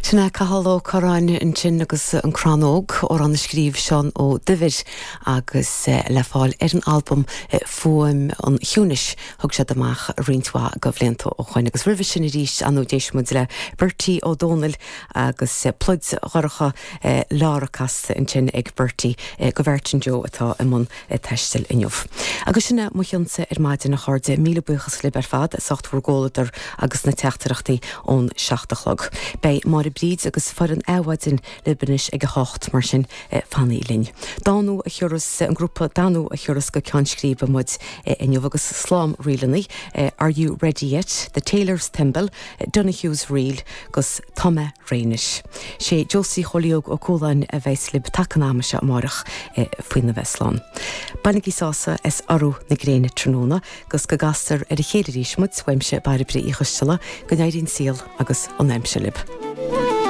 Sin é Cathal Ó Curráin ansin agus An Crann Óg, amhrán a scríobh Seán Ó Duibhir agus le fáil ar an albam Fuaim an Chiúnais thug siad amach roinnt mhaith de bhlianta ó shoin. Agus roimhe sin arís, ar ndóigh, d'éist muid le Bertie Ó Dónaill agus Pluid Dhorcha Lára casta ansin ag Bertie do Mheairtin Joe atá i mbun taistil inniu. Agus sin é mo chionsa ar maidin, a chairde. Míle buíochas libh ar fad as ucht bhur gcomhluadar agus na teachtaireachtaí ón 7 a chlog. Beidh Máire Bríd agus foireann Adhmhaidin libh anois ag a hocht, mar sin fanaigí linn. Danú a thiúrfas, an grúpa Danú a thiúrfas go Ceann Scríbe muid inniu agus slám ríleanna, Are You Ready Yet? The Tailor's Thimble, Donohue's Reel 'gus Tá Mé Réidh Anois. Sé Josie Chóilí Óg Ó Cualáin a bheas libh taca an ama seo amárach faoina bheith slán. Bainigí sásamh as urú na gréine tráthnóna 'gus go gcastar ar a chéile arís muid, uaimse Bairbre Uí Choisteala, go n-éirí an saol agus an aimsir libh.